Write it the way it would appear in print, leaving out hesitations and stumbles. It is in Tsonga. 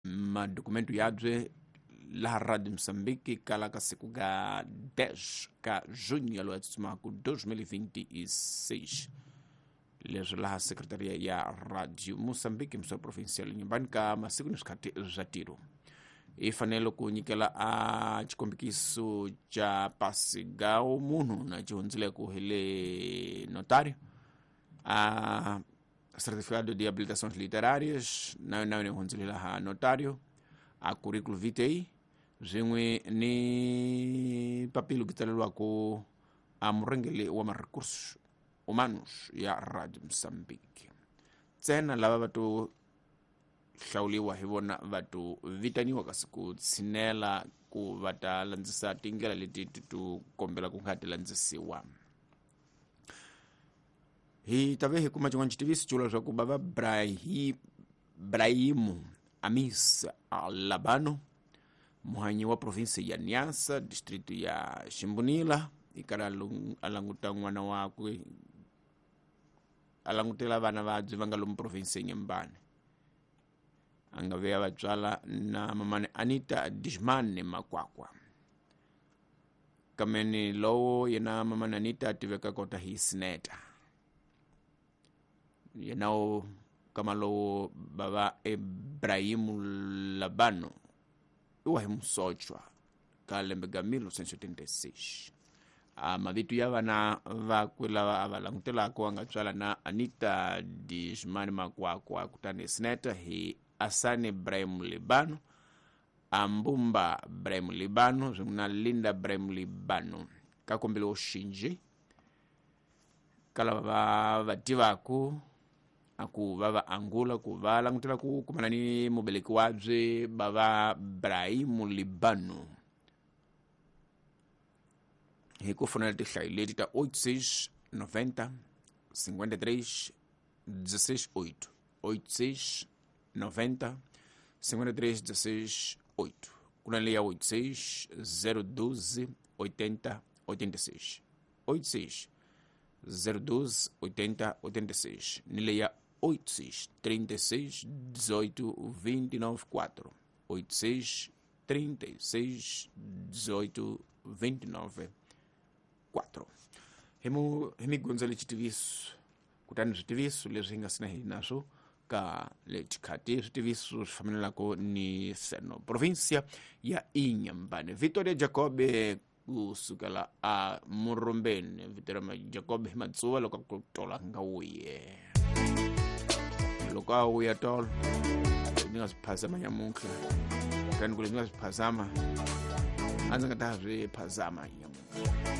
Madokumentu yabye laha Radio Moçambique kala ka siku ga 10 ka junho yalowu ya tsutsumaka 2026, leswi laha Sekretaria ya Radio Moçambique, mso provincial Nyumbani, ka masiku ni swikhati swa tiro. I fanele ku nyikela a xikombikiso xa pasi ga munhu na xihundzileko hi le notário, a certificado de habilitações literárias na yona yona hundzile laha notário, a currículo vitae swin'we ni papilo ku tsaleriwaku a murhangeri wa ma-recursos humanos ya Radio Moçambique. Ntsena lava va to hlawuliwa hi vona va to vitaniwa kasi ku tshinela ku va ta landzisa tindlela leti ti to kombela ku nga ti landzisiwa. Hi ta ve hi kuma xin'wana xitiviso xi vula leswaku bava Brahimu Amis Labano, muhanyi wa provinsi ya Niassa, district ya Ximbunila, i karhi a languta n'wana wakwe, a langutela vana vabye va nga lomu provinsi ya Nyembane, a nga veya vatswala na mamani Anita Dishmane Makwakwa. Kameni lowo yena mamani Anita a tiveka kota hi Sineta, yena wo kama lowo bava Ibrahimu Labano i wa hi musochwa ka lembe ga 1976. A mavito ya vana vakwe lava a va langutelaka a nga tswala na Anita Dishmani Makwakwa kutani Sineta hi Asani Ibrahim Libano, Ambumba Ibrahim Libano swin'we na Linda Ibrahim Libano. Ka kombelo xinji ka lava va va tivaku a ku va va angula ku va langutela ku kumana ni mubeleki wabye bava Ibrahimu Libano hi ku fonela tinhlayo leti ta 86 90 53 16 8, 86 90 53 16 8, ku na leyi ya 86 012 80 86, 86 012 80 86, ni leyi ya 86 36 18 29 4, 86 36 18 29 4. Hi mu hi mi gondzele xitiviso, kutani switiviso leswi hi nga sina hi naswo ka le xikhati, switiviso swi fambelelaka ni seno provincia ya Inhambane. Victoria Jacobe kusukela a Murumbeni, Victoria Jacobe hi matsuva loko ku tola nga wuye, loko a wuya tolo ni nga swi phazama nyamuntlha, kutani ku leswi nga swi phazama a ndzi nga ta swi phazama nyamuntlha.